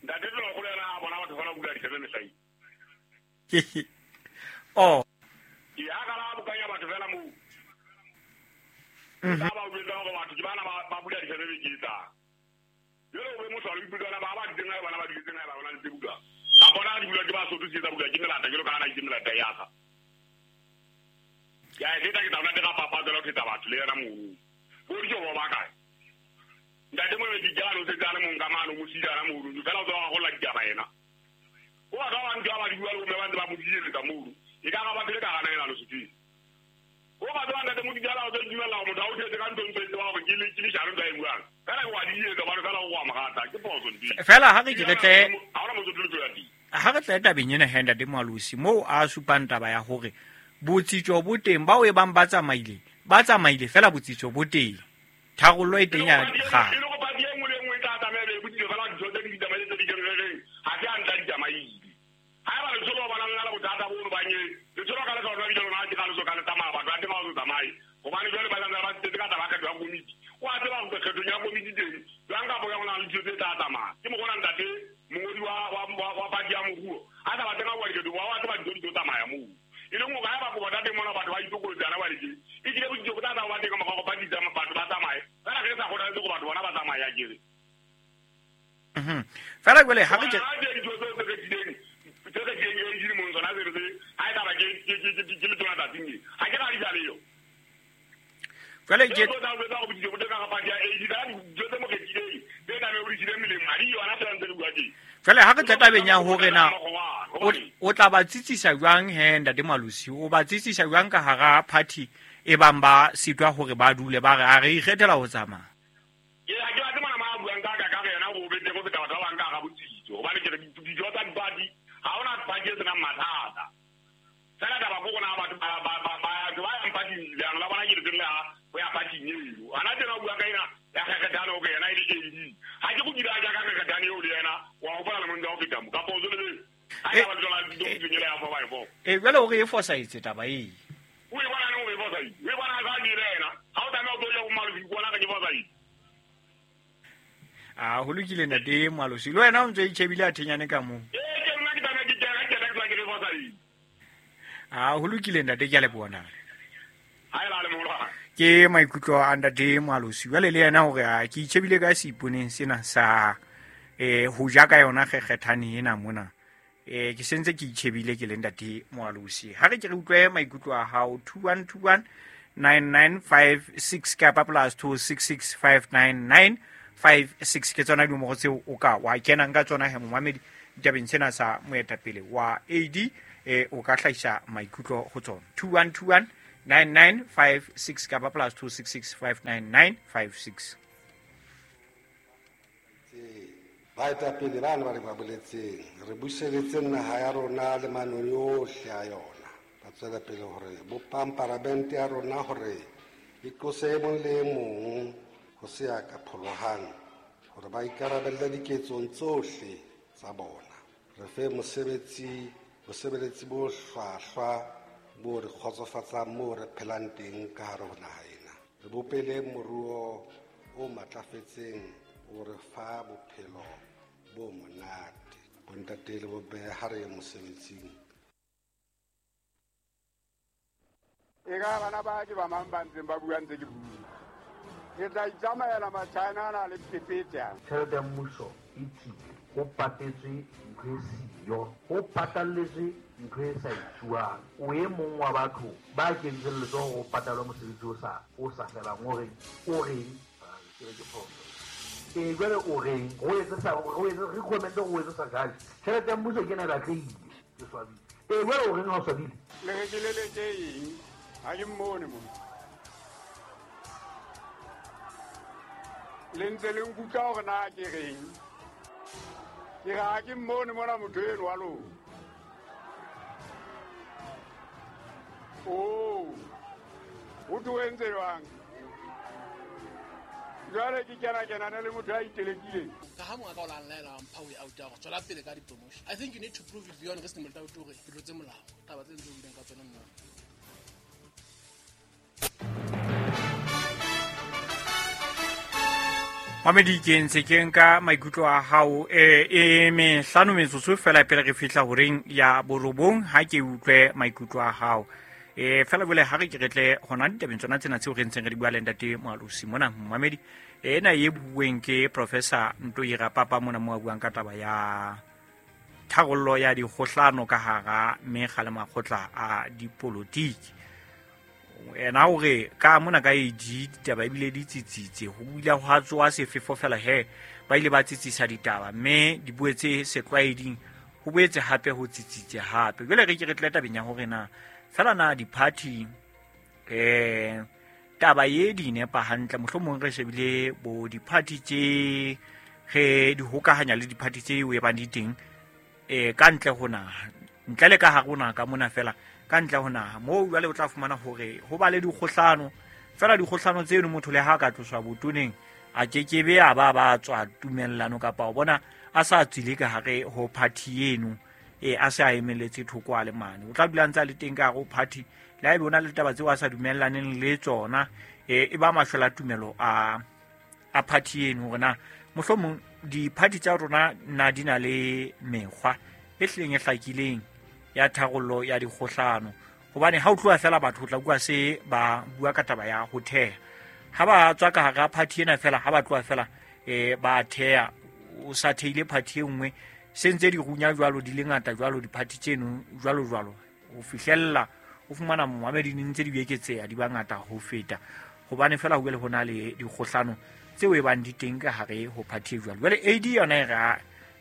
Ntate Tonakgolo yena a bona batho ba bula ditsebe mehlai. Oh. Ke ya ka la bokanya batho fela mo. Mhm. Ba ba bula gore batho ke bana ba bula ditsebe ke tsa. Jole o be motho a le bula ba ba ditseng bana ba ditseng ba bona le bula. Ka bona di bula ke ba sotho tsa bula ke melata ke lo kana ke melata ya ka. Ya e tla ke tla ntate Rapapa tsela tsa batho le yena mo. Go di jo ba kae. Ntate mo le dijalo se tsana mo nka mano mo sidana mo ru fela o tswa go la ditaba yena. O ba ka ba ntwa ba di bua le ba ntse ba mo dietsa mo ru. E ka ba phele ka gana yena lo sutsi. O ba tswa ntate mo dijalo o tswa dumela motho a o thetse ka ntong tse ba go ke le ke le jalo ba e buang. Fela wa di etsa ba re fela go amogata ke poso ndi. Fela ha re ke re tle ha ona motho tlo ya di. Ha re tle tabeng ena he ntate Moalosi moo a supang taba ya hore botsitso bo teng bao e bang ba tsamaile ba tsamaile fela botsitso bo teng tharollo e teng ya dikgang. E le go party e nngwe le nngwe e tla tsamaya be botsitso fela dintho tse di tsamaile tse di keneleng ha se a ntla di tsamaile. Ha eba letsholo ba nang le bothata bo ba nye letsholo ka le ka lona bile lona ke ka le so ka le tsamaya batho ba teng ba o tsamaye hobane jwale ba tla ba tsetse ka taba kgetho ya komiti o a tseba go kgetho ya komiti teng jwang ka bo ya gona le dintho tse tla tsamaya ke mo gona ntate mongodi wa wa wa party ya moruo a tla ba teng a bua dikgetho wa wa tseba dintho di tlo tsamaya moo. E leng gore ha ba go bona teng mona batho ba itokolotsana ba le ke e kile botsitso bo tla tla ba teng ka go party tsa batho ba tsamaye fela re sa kgothaletse go batho bona ba tsamaya kere. Mhm. Fela jwale ha re ke dintho tse tse kgethileng tse kgethileng e di mong tsona tse re ha e taba ke ke ke ke le tsona tsatsing ha ke ra di jale yo. Jwale ke tla go tla go botsitso bo teng ka party ya A D ka dintho tse mo kgethileng tse tla be o di tshile melemo ha di yona fela ntse re bua teng. Jwale ha re tla tabeng ya hore na o tla ba tsitsisa jwang he ntate Moalosi, o ba tsitsisa jwang ka hara party e bang ba sitwa hore ba dule ba re a re ikgethela ho tsamaya. Ke ha ke batle mona ma buang ka ka ka yena o bete go feta batho ba bang ka ga botsitso hobane ke re dijo tsa party ha ona party e senang mathata. Fela taba go gona batho ba ba ba ba ba yang party leano la bona ke le ha go ya party eo. Ana tena o bua ka ena ya kgethana o ke yena e le A D. Ha ke go dira ja ka kgethana eo le yena wa hopola le montse o feta mo ka pozo le E jwale o re e fosahetse taba ee. O e bona neng o e fosahetse? O e bona ka dire yena. Ha o tlameha o tlo ya ho Malosi bona ka ke fosahetse. Ah, ho lokile ntate Moalosi. Le wena o ntse o itjhebile a thenyane ka moo. Ee, ke nna ke tlameha ke kena ke kena ke ke fosahetse. Ah, ho lokile ntate, ke a leboha ntate. Ha e la le moholo. Ke maikutlo a ntate Moalosi. Jwale le yena hore a ke itjhebile ka seiponeng sena sa eh ho ja ka yona kgekgethane ena mona. Eh ke sentse ke itjhebile ke le ntate Moalosi. Ha re ke re utlwe maikutlo a hao two one two one nine nine five six kapa plus two six six five nine nine five six ke tsona dinomoro tseo o ka wa kenang ka tsona he momamedi ditabeng sena sa moetapele wa A D eh o ka hlahisa maikutlo ho tsona two one two one nine nine five six kapa plus two six six five nine nine five six. Baetapele bana ba re ba boletseng re buseletse naha ya rona le manong yohle a yona ba tswela pele hore bopang paramente ya rona hore e tlose e mong le e mong ho se ya ka pholohang hore ba ikarabelle diketsong tsohle tsa bona re fe mosebetsi bosebeletsi bo hlwahlwa bo re kgotsofatsang moo re phelang teng ka hare ho naha ena re bopele moruo o matlafetseng o re fa bophelo bo monate bontate le bomme ha re ye mosebetsing. E ka bana ba ke ba mang ba ntseng ba bua ntse ke bua ke tla itsamaela Machina ana le phephetsa tjhelete ya mmuso e tsile ho patetswe ntho e siyo ho patalletswe ntho e sa etsuwang o e mong wa batho ba kentseng letsoho ho patalwa mosebetsi o sa o sa felang o reng o reng ke be ke phoso e jwale o reng o etse sa o etse re comment o etse sa judge tjhelete ya mmuso ke ena e batlehile ke swabile e jwale o reng ha o swabile le re ke leletse eng ha ke mmone mo le ntse le nkutlwa hore na ke reng ke re ha ke mmone mona motho eno wa lona o o tlo entse jwang jwale ke kena kenana le motho a itelekileng ka ha monga ka o la nlaela mpha o out ya go tswela pele ka di-promotion. I think you need to prove it beyond reasonable doubt hore ke tlotse molao taba tse ntse o buileng ka tsona nna. Mamedi ke ntse ke nka maikutlo a hao e e mehlano metsotso fela pele re fihla horeng ya borobong ha ke utlwe maikutlo a hao e fela bole ha re ke re tle hona ditabeng tsona tsena tseo re ntseng re di bua le ntate Moalosi mona mamedi ena e bueng ke Professor Ntoira Papa mona mo a buang ka taba ya tharollo ya dikgohlano ka hara mekga le makgotla a dipolotiki ena hore ka mona ka A D ditaba ebile di tsitsitse ho bile ho tswa sefefo fela he ba ile ba tsitsisa ditaba mme di boetse setlwaeding ho boetse hape ho tsitsitse hape jwale re ke re tle tabeng ya hore na fela na di-party eh taba ye di nepa hantle mohlomong re shebile bo di-party tse re di hokahanya le di-party tse o e bang di teng eh ka ntle ho naha ntle le ka hare ho naha ka mona fela ka ntle ho naha moo jwale o tla fumana hore ho ba le dikgohlano fela dikgohlano tseno motho le ha ka tloswa botoneng a kekebe a ba ba tswa tumellano kapa o bona a sa tswile ka hare ho party eno e a se a emeletse thoko a le mane o tla dula ntse a le teng ka hare ho party le ha ebe o na le taba tseo a sa dumellaneng le tsona e e ba mashwela tumelo a a party eno hore na mohlomong di-party tsa rona na di na le mekgwa e hlileng e hlakileng ya tharollo ya dikgohlano hobane ha o tloha fela batho o tla bua se ba bua ka taba ya ho theha ha ba tswa ka hara party ena fela ha ba tloha fela eh ba theha o sa theile party e nngwe se ntse di runya jwalo di le ngata jwalo di-party tseno jwalo jwalo ho fihlella o fumana momamedi di ntse di eketseha di ba ngata ho feta hobane fela ho bile ho na le dikgohlano tseo e bang di teng ka hare ho party jwalo jwale A D yona e ra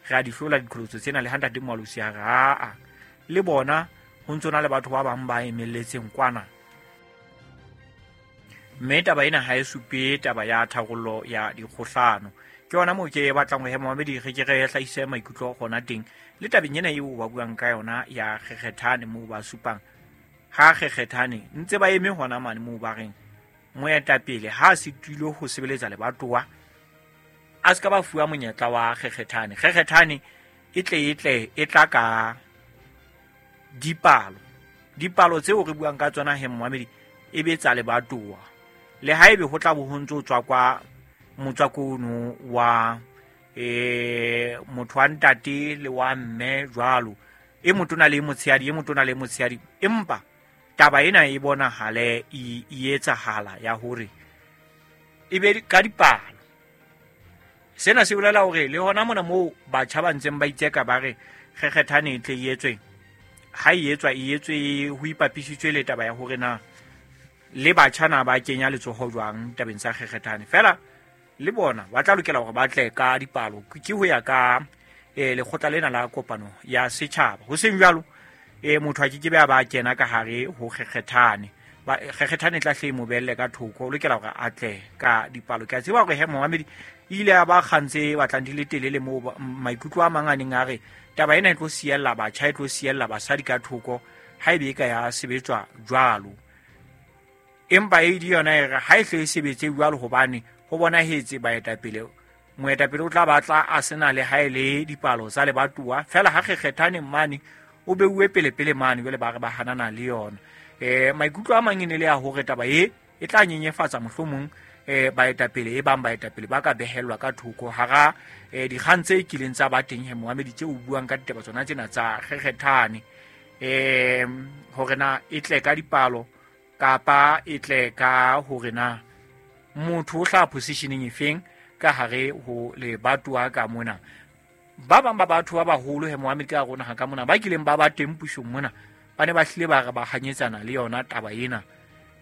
ra di hlola diqholotso tsena le ntate Moalosi a ra a le bona ho ntso na le batho ba bang ba emelletseng kwana mme taba ena ha e supe taba ya tharollo ya dikgohlano ke yona moo ke batlang ho hema mamedi re ke re hlahise maikutlo hona teng le tabeng ena eo ba buang ka yona ya kgekgethane moo ba supang ha kgekgethane ntse ba eme hona mane moo ba reng moetapele ha se tulo ho sebeletsa lebatowa a se ka ba fuwa monyetla wa kgekgethane kgekgethane e tle e tle e tla ka dipalo dipalo tseo re buang ka tsona he momamedi e be tsa lebatowa le haebe ho tla bo ho ntso tswa kwa motswako ono wa eh motho wa ntate le wa mme jwalo e motona le motshehadi e motona le motshehadi empa taba ena e bonahale e etsahala ya hore e be ka dipalo sena se bolela hore le hona mona moo batjha ba ntseng ba itseka ba re kgekgethane e tle e etswe ha e etswa e etswe ho ipapisitswe le taba ya hore na le batjha na ba kenya letsoho jwang tabeng tsa kgekgethane fela le bona ba tla lokela hore ba tle ka dipalo ke ho ya ka eh lekgotla lena la kopano ya setjhaba. Ho seng jwalo eh motho a ke ke be a ba kena ka hare ho kgekgethane. Ba kgekgethane tla hle mo belle ka thoko, o lokela hore a tle ka dipalo. Ke a tseba hore he momamedi ile a ba kgantse batlang di le telele moo maikutlo a mang a neng a re taba ena e tlo siella batjha, e tlo siella basadi ka thoko ha ebe e ka ya sebetswa jwalo. Empa e di yona e re ha e hle e sebetse jwalo hobane ho bonahetse baetapele, moetapele o tla batla a sena le ha e le dipalo tsa lebatowa fela ha kgekgethane mane o beuwe pele pele mane jwale ba re ba hanana le yona. Eh maikutlo a mang e ne le ya hore taba e e tla nyenyefatsa mohlomong eh baetapele e bang baetapele ba ka behellwa ka thoko hara eh dikgang tse kileng tsa ba teng he momamedi tse o buang ka ditaba tsona tsena tsa kgekgethane, eh hore na e tle ka dipalo kapa e tle ka hore na motho o hla positioning efeng ka hare ho lebatowa ka mona. Ba bang ba batho ba baholo he momamedi ka rona ha ka mona ba kileng ba ba teng pusong mona ba ne ba hlile ba re ba hanyetsana le yona taba ena,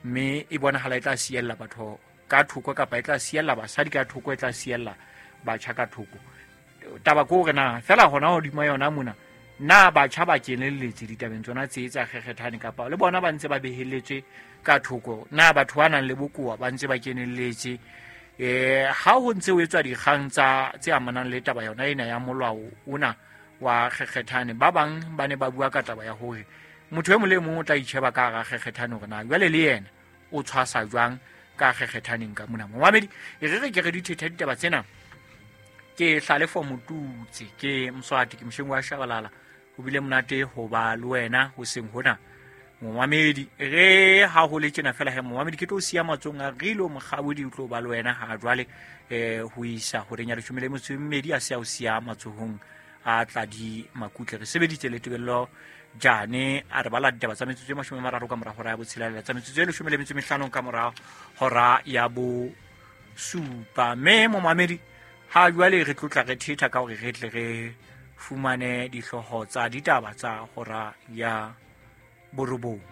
mme e bonahala e tla siella batho ka thoko kapa e tla siella basadi ka thoko, e tla siella batjha ka thoko. Taba ke hore na fela hona hodima yona mona na batjha ba kenelletse ditabeng tsona tse tsa kgekgethane kapa le bona ba ntse ba behelletswe ka thoko, na batho ba nang le bokowa ba ntse ba kenelletse. Eh ha ho ntse ho etswa dikgang tsa tse amanang le taba yona ena ya molao ona wa kgekgethane, ba bang ba ne ba bua ka taba ya hore motho e mong le mong o tla itjheba ka hara kgekgethane hore na jwale le yena o tshwasa jwang ka kgekgethaneng ka mona. Momamedi e re re ke re dithetha ditaba tsena. Ke Hlalefo Motutsi, ke Mswati, ke mosheng wa Shabalala. Ho bile monate ho ba le wena hoseng hona momamedi. Re ha ho le tjena fela he momamedi, ke tlo siya matsong a Rilo Mokgabodi o tlo ba le wena ha jwale eh ho isa horeng ya leshome le metso e mmedi a se a o siya matsohong a Tladi Makutle. Re sebeditse le Tebello Jane a re bala ditaba tsa metsotso e mashome a mararo ka mora hora ya botshelela, tsa metsotso e leshome le metso e mehlano ka mora hora ya bosupa. Mme momamedi ha jwale re tlotla re thetha ka hore re tle re fumane dihlooho tsa ditaba tsa hora ya borobong.